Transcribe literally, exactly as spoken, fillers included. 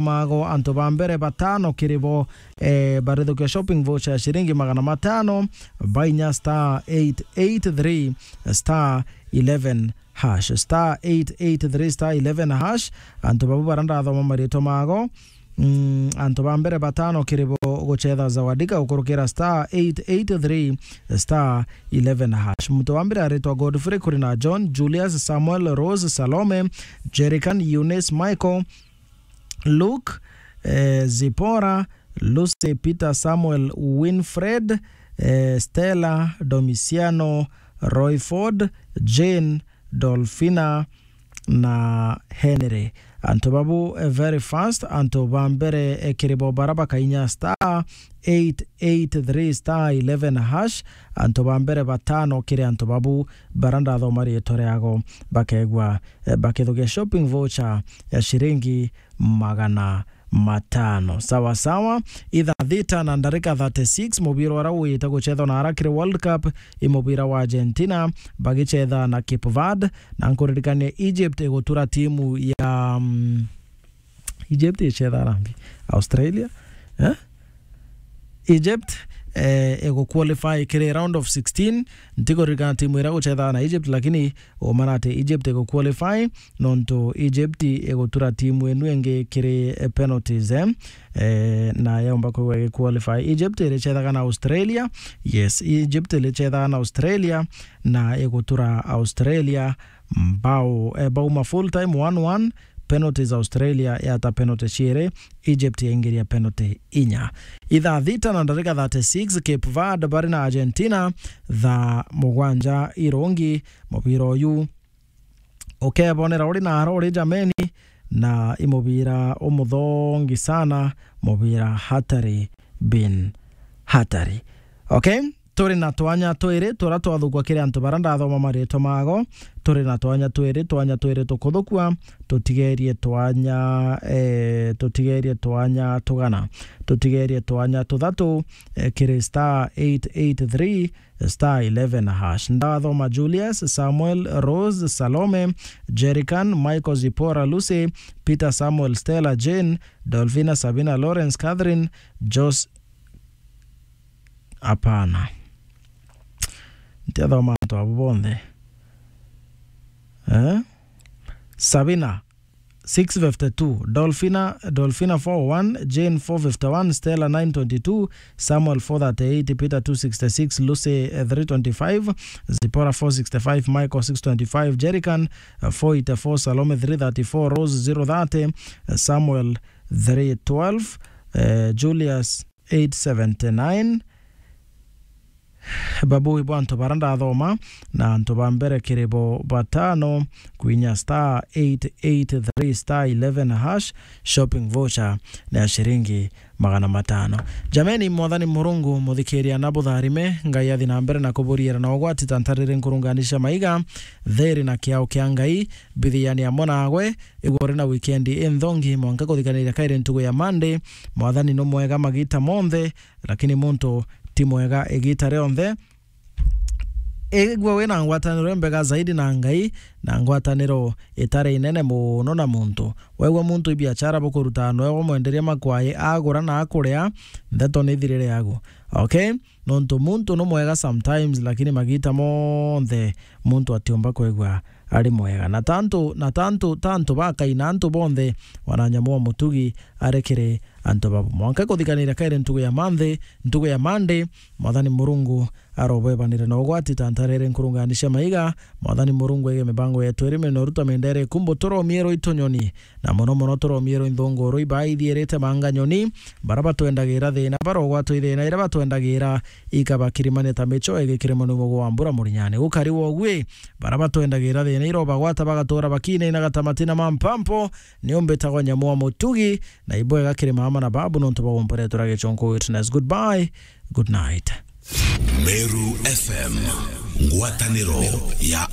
mago, antu ba mbere batano kiri bo, eh, barithukia shopping voucher ya ciringi magana matano, bainya star eight eight three star eleven hash, star eight eight three star eleven hash. Antu babu bara ndathoma maritwa mago. Mm, antu ba mbere batano kiri bo gucetha Zawadika gukurukira star eight eight three star eleven hash. Muntu wa mbere aritwa Godfrey, kuri na John, Julius, Samuel, Rose, Salome, Jerican, Eunice, Michael, Luke, eh, Zipora, Lucy, Peter, Samuel, Winfred, eh, Stella, Domiciano, Royford, Jane, Dolphina na Henry. Antu babu, eh, very fast, antu ba mbere, eh, kiri bo bara bakainya star eight eight three star eleven hash. Antu ba mbere batano kiri antu babu bara ndathoma riitwa riago bakegwa, eh, bakithukia shopping voucher ya ciringi magana matano. Sawa sawa. Ithaa thita na ndarika thirty-six, mubira uria wita gucethwa na ara kiri World Cup, i mubira wa Argentina bagicetha na Cape Verde, na nkuririkania Egypt igutura timu ya, mm, Egypt icetha na mbi? Australia? Eh? Egypt, eh, iguqualify kiri round of sixteen. Ntikuririkana timu iria gucetha na Egypt, lakini uma na ati Egypt iguqualify, nontu Egypt igutura timu inu ingi kiri, eh, penalties, eh? Eh, na yaumba kwigwa igiqualify. Egypt iricethaga na Australia. Yes, Egypt iricethaga na Australia, na igutura Australia mbao, eh, bauma full time one one, penalties Australia yata penalty ciiri, Egypt yaingiria penalty inya. Ithaa thita na ndarika thirty-six, Cape Verde bari na Argentina, thaa mugwanja irungi, mubira uyu ukebonera uri na ara uri jameni, na i mubira umuthongi sana, mubira hatari bin hatari. Okay? Turi na twanya twiri turia twathugwa kiri antu baria ndathoma maritwa mago. Turi na twanya twiri, twanya twiri tukuthukua, tutigerie twanya, eh, tutigerie twanya tugana, tutigerie twanya tuthatu, eh, kiri star eight eight three star eleven hash. Ndathoma Julius, Samuel, Rose, Salome, Jerican, Michael, Zipora, Lucy, Peter, Samuel, Stella, Jane, Dolphina, Sabina, Lawrence, Catherine, Jos-, Hapana. Ntiathoma antu abo bonthe. Eh? Sabina, six fifty-two. Dolphina, Dolphina, four oh one. Jane, four fifty-one. Stella, nine twenty-two. Samuel, four thirty-eight. Peter, two sixty-six. Lucy, eh, three twenty-five. Zipporah, four sixty-five. Michael, six twenty-five. Jerican, eh, four eighty-four. Salome, three thirty-four. Rose, zero thirty. Eh, Samuel, three twelve. Eh, Julius, eight seventy-nine. Babu ibo antu bara ndathoma, na antu ba mbere kiri bo batano, kwinya star eight eight three star eleven hash, shopping voucher ni ya ciringi magana matano. Jameni, Mwathani Murungu muthikiria na butharime, Ngai athi na mbere na kuburiira na ugwati ta ntariri nkurungani cia maiga, thiri na kiao kia Ngai bithiani amwe nagwe, igwe uri na wikendi inthongi, mwanka kuthikaniria kairi ntugu ya Monday. Mwathani nu mwega magita monthe, lakini muntu ti mwega igita rionthe. Igwe wina ngwataniro imbega zaidi na Ngai, na ngwataniro itari inene muno na muntu. Wegwe muntu ibiachara bukuruta, noe wamwenderia makwai agura na akuria, ndeto ni thirire yagu. Okay? Nontu muntu nu mwega sometimes, lakini magita monthe muntu atiumba kwigua ari mwega. Na tantu, na tantu, tantu bakaina antu bonthe, wana nyamu wa mutugi ari kiri antu babu. Mwanka kuthikaniria kairi ntugu ya Monday, ntugu ya Monday, Mwathani Murungu arobebanire na ugwati ta ntariri nkurungani cia maiga. Mwathani Murungu ege mibango yetu iri minoru ta mindere ikumbu, turomie rwitu nyoni, na muno muno turomie rwinthunguru iba ithiirite manga nyoni, bara batwendagira thina, barogwatwa i thina iria batwendagira ikabakirimania ta micho igikirima ni mugo wa mbura murinyani. Gukari wogwi, bara batwendagira thina irobagwata bagatuura bakinainaga ta matina ma mpampo, ni umbitagwa nyamu wa mutugi, na ibwega kiri mama na babu nontu bwa gumporetera gichonko witness. Goodbye, good night. Meru F M, ngwataniro ya